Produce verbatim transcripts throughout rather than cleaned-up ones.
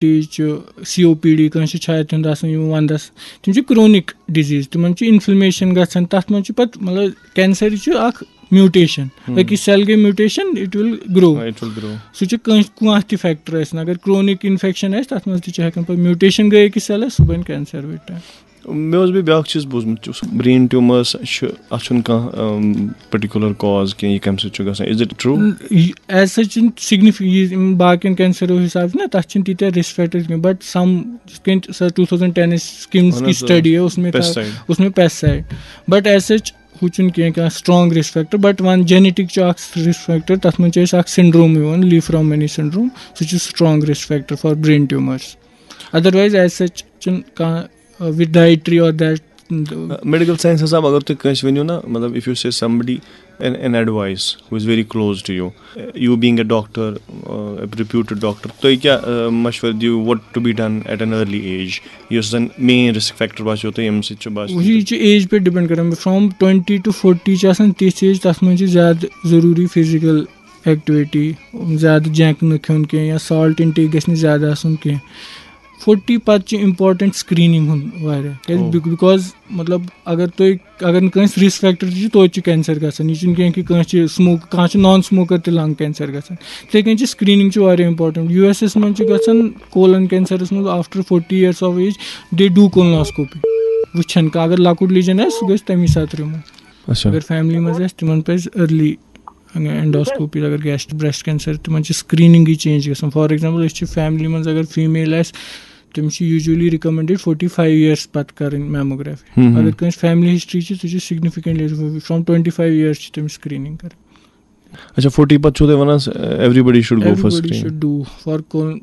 Diabetes چھُ، C او P D, کٲنٛسہِ چھُ چھاتہِ ہُنٛد آسان یِم ونٛدس، تِم چھِ کرونک ڈِزیٖز، تِمن چھُ انفلمیشن گژھان، تتھ منٛز چھُ پتہٕ مطلب کینسر چھُ اکھ میوٹیشن، أکِس سیل گٔے mutation, it will grow. It will grow. سُہ چھُ کٲنٛسہِ کانٛہہ تہِ فیکٹر ٲسِن، اگر کرونک انفیکشن آسہِ تتھ منٛز تہِ چھُ ہٮ۪کان پتہٕ میوٹیشن گٔے أکِس سیلس، سُہ بنہِ کینسر with time. مےٚ اوس بیٚیہِ بیٛاکھ چیٖز بوٗزمُت، یُس برین ٹیوٗمٲرٕس چھِ، اَتھ چھُنہٕ کانٛہہ پٔٹِکیوٗلَر کاز کینٛہہ، یہِ کَمہِ سۭتۍ چھُ گژھان؟ Is it true? As such چھِنہٕ سِگنِفِ یِم باقین کینسرو حساب چھِنہ، تَتھ چھِنہٕ تیٖتیٛاہ رِسک فیکٹر کینٛہہ، بٹ سم یِتھ کٔنۍ سۄ ٹوٗ تھاوزنڈ ٹینس کِمز اہن کی حظ، آ. سٹڈی ٲس، اوس مےٚ Pesticide. اوس مےٚ پیسٹسائڈ، بٹ ایز سچ ہُہ چھُنہٕ کینٛہہ کانٛہہ سٹرانگ رِسک فیکٹر، بٹ وَن جینیٹک چھُ اکھ رِسک فیکٹر، تَتھ منٛز چھُ اَسہِ اکھ سنڈروم یِوان، لی فرام مینی سنڈروم، سُہ چھُ strong risk factor for brain ٹیوٗمٲرٕس، ادروایز ایز سچ چھُنہٕ کانٛہہ وِتھ ڈایٹری اور دیٹ. میڈیکل ساینس حساب اگر تُہۍ کٲنٛسہِ ؤنِو نا، مطلب، if you say somebody an, an advice who is very close to you, you being a doctor, a reputed doctor, تُہۍ کیٛاہ مشورٕ دِیِو، what to be done at an early age, یُس زَن مین رِسک فیکٹر باسیو تۄہہِ، ییٚمہِ سۭتۍ چھُ باسیو یہِ چھُ ایج پٮ۪ٹھ ڈِپینڈ کران، فرام ٹُوَنٹی ٹُو فورٹی چھِ آسان تِژھ ایج، تَتھ منٛز چھِ زیادٕ ضروٗری فزیکل ایکٹیویٹی، زیادٕ جنک نہٕ کھیوٚن کینٛہہ یا سالٹ انٹیک گژھِ نہٕ زیادٕ آسُن کینٛہہ. فورٹی پتہٕ چھِ امپورٹنٹ سکریننگ ہُنٛد واریاہ، کیازِ او. بِک-، بِکاز مطلب اگر تُہۍ اگر نہٕ کٲنٛسہِ رِسک فیکٹر تہِ چھُ، توتہِ چھُ کینسر گژھان. یہِ چھُنہٕ کینٛہہ کہِ کٲنٛسہِ چھِ سموک، کانٛہہ چھُ نان سموکر تہِ لنگ کینسر گژھان. یِتھے کٔنۍ چھِ سکریننگ چھُ واریاہ امپورٹنٹ. یوٗ ایس اے منٛز چھُ گژھان کولن کینسرس منٛز after forty years of age they do colonoscopy. وٕچھان کانٛہہ اگر لۄکُٹ لیجن آسہِ، سُہ گژھِ تمی ساتہٕ رِموٗ. اچھا. اگر فیملی منٛز آسہِ، تِمن پزِ ارلی اینڈوسکوپی. اگر گیسٹ بریسٹ کینسر، تِمن چھِ سکریننگٕے چینج گژھان. فار ایگزامپل، أسۍ چھِ فیملی منٛز اگر فیمیل آسہِ، تٔمِس چھِ یوٗجولی رِکمنڈڈ فورٹی فایو ییرس پتہٕ کرٕنۍ میموگرافی. ہم. اگر کٲنٛسہِ فیملی ہسٹری چھِ، سُہ چھُ سگنفکینٹلی، فرام ٹُوَنٹی فایو ییرس چھِ تٔمِس سکریننگ کرٕنۍ. اچھا، فورٹی پتہٕ چھُو تُہۍ ونان everybody should go for Everybody screen? Should do for col-,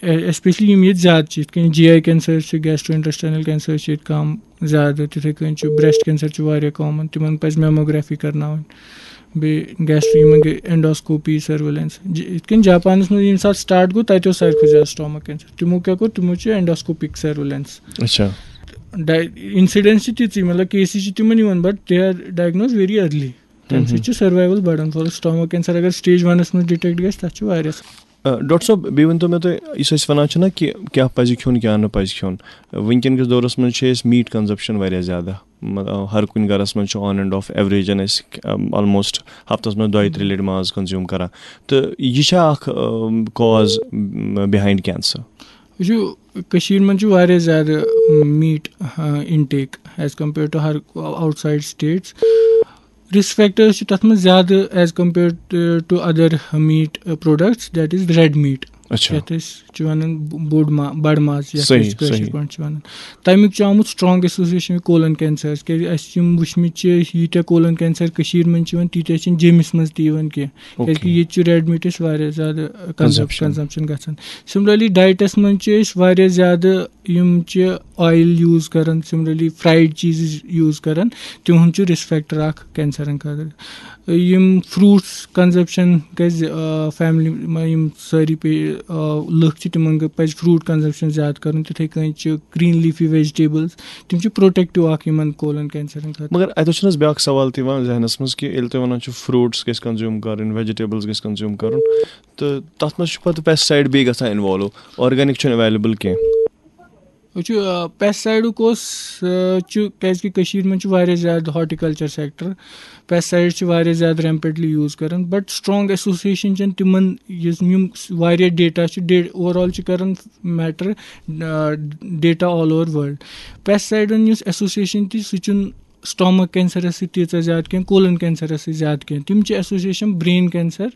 especially یِم ییٚتہِ زیادٕ چھِ، یِتھ کٔنۍ جی آی کینسر چھِ، گیسٹرو انٹسٹینل کینسر چھِ ییٚتہِ کم زیادٕ، تِتھے کٔنۍ چھُ بریسٹ کینسر چھُ واریاہ کامن، تِمن پزِ میموگرافی کرناوٕنۍ. بیٚیہِ گیسٹرو یِمن گٔے اینڈوسکوپی سرویلنس. یِتھ کٔنۍ جاپانس منٛز ییٚمہِ ساتہٕ سٹارٹ گوٚو، تتہِ اوس ساروی کھۄتہٕ زیادٕ سٹامک کینسر. تِمو کیٛاہ کوٚر؟ تِمو چھُ اینڈوسکوپک سرویلنس. اچھا. انسیڈنس چھِ تِژٕے، مطلب کیسز چھِ تِمن یِوان، but they are diagnosed very early. تمہِ سۭتۍ چھُ سروایول بڑان. فار سٹامک کینسر اگر سٹیج ونس منٛز ڈِٹیکٹ گژھِ، تتھ چھُ واریاہ. آ، ڈاکٹر صٲب، بیٚیہِ ؤنۍ تو مےٚ تُہۍ، یُس أسۍ وَنان چھِنہ کہِ کیٛاہ پَزِ کھیوٚن، کیٛاہ نہٕ پَزِ کھیوٚن، وٕنکیٚن کِس دورَس منٛز چھِ أسۍ میٖٹ کنزپشن واریاہ زیادٕ، مطلب، ہر کُنہِ گَرَس منٛز چھُ آن اینڈ آف ایوریجن أسۍ آلموسٹ ہفتَس منٛز دۄیہِ ترٛےٚ لَٹہِ ماز کنزیوٗم کَران، تہٕ یہِ چھا اَکھ کاز بِہایِنڈ کینسر؟ وٕچھِو، کٔشیٖرِ منٛز چھُ واریاہ زیادٕ meat intake as compare to her outside states. Risk factors چھِ تَتھ منٛز زیادٕ as compared to other meat products, that is red meat. اچھا. یَتھ أسۍ چھِ وَنان ب-، بوٚڑ ما-، بَڑٕ ماز، یَتھ صحیح، أسۍ کٲشِر صحیح. پٲٹھۍ چھِ وَنان. تَمیُک چھُ آمُت سٹرانگ ایسوسیشن کولن کینسر، کیازِ اَسہِ چھِ یِم وٕچھمٕتۍ چھِ، ییٖتیٛاہ کولن کینسر کٔشیٖرِ منٛز چھِ یِوان، تیٖتیٛاہ چھِنہٕ جیٚمِس منٛز تہِ یِوان کینٛہہ، کیازِ کہِ اوکے. ییٚتہِ چھُ ریڈ میٖٹٕچ واریاہ زیادٕ Consumption. کنزمپشن گژھان. سملرلی ڈایٹس منٛز چھِ أسۍ واریاہ زیادٕ یِم چھِ آیل یوٗز کران، سملرلی فرایڈ چیٖزز یوٗز کران، تِہُنٛد چھُ رسک فیکٹر اکھ کینسرن خٲطرٕ. یِم فروٹس کنزمپشن گژھِ، آ، فیملی، یِم سٲری پے-، آ، لُکھ چھِ، تِمن گٔ-، پزِ فروٹ کنزمپشن زیادٕ کرُن. تِتھے کٔنۍ چھِ گرین لیفی ویجیٹیبلز، تِم چھِ پروٹیکٹو اکھ یِمن کولن کینسرن خٲطرٕ. مگر اتہِ چھُنہٕ حظ بیٛاکھ سوال تہِ یِوان ذہنس منٛز کہِ ییٚلہِ تُہۍ ونان چھِو فروٹس گژھِ کنزیوٗم کرٕنۍ، ویجیٹیبلز گژھِ کنزیوٗم کرُن، تہٕ تتھ منٛز چھُ پتہٕ پیسٹسایڈ بیٚیہِ گژھان انوالو، آرگینک چھُنہٕ اویلیبل کینٛہہ. وٕچھِو، آ، پیسٹسایڈُک اوس، آ، چھُ، کیازِ کہِ کٔشیٖرِ منٛز چھُ واریاہ زیادٕ ہارٹیکلچر سیکٹر، پیسٹسایڈ چھِ واریاہ زیادٕ ریمپنٹلی یوٗز کران، بٹ سٹرانگ ایسوسیشن چھنہٕ تِمن، یُس یِم واریاہ ڈیٹا چھُ، ڈے-، اوور آل چھِ کران میٹر، آ، ڈیٹا آل اوور ورلڈ. پیسٹسایڈن یُس ایسوسیشن تہِ، سُہ چھُنہٕ سٹامک کینسرس سۭتۍ تیٖژاہ زیادٕ کینٛہہ، کولن کینسرس سۭتۍ زیادٕ کینٛہہ، تِم چھِ ایسوسیشن برین کینسر.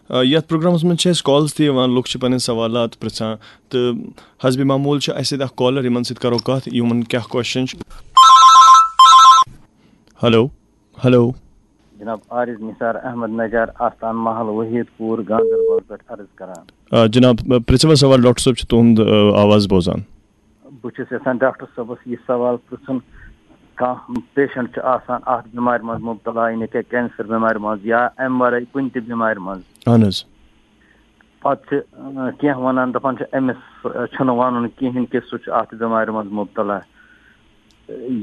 آ، یتھ پروگرامس منٛز چھِ اَسہِ کالز تہِ یِوان، لُکھ چھِ پنٕنۍ سوالات پرژھان، تہٕ حسبِ معموٗل چھِ اَسہِ سۭتۍ اکھ کالر، یِمن سۭتۍ کرو کتھ، یِمن کیٛاہ کوسچن چھِ۔ Hello, hello. جناب عارض نثار احمد نجار، آستان محل وحید پور، گاندربل پٮ۪ٹھ عرض کران۔ آ، جناب، پرژھِو حظ سوال، ڈاکٹر صٲب چھُ تُہُنٛد، آ، آواز بوزان۔ بہٕ چھُس یژھان ڈاکٹر صٲبس یہِ سوال پرژھُن، کانٛہہ پیشنٹ چھُ آسان اتھ بٮ۪مارِ منٛز مبتلا، یعنی کہِ کینسر بٮ۪مارِ منٛز یا امہِ ورٲے کُنہِ تہِ بٮ۪مارِ منٛز، اہن حظ۔ پتہٕ چھِ، اۭں، کینٛہہ ونان، دپان چھِ أمِس، اۭں، چھُنہٕ ونُن کِہیٖنۍ کہِ سُہ چھُ اتھ بٮ۪مارِ منٛز مبتلا۔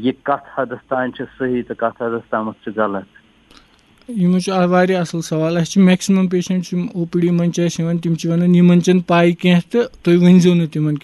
یہِ کتھ حدس تام چھِ صحیح تہٕ کتھ حدس تامتھ چھِ غلط؟ یِمن چھُ اَ-، واریاہ اَصٕل سوال۔ اَسہِ چھِ maximum patient یِم او پی ڈی منٛز چھِ اَسہِ یِوان، تِم چھِ وَنان یِمن چھَنہٕ پَے کینٛہہ تہٕ تُہۍ ؤنۍزیو نہٕ تِمن کینٛہہ۔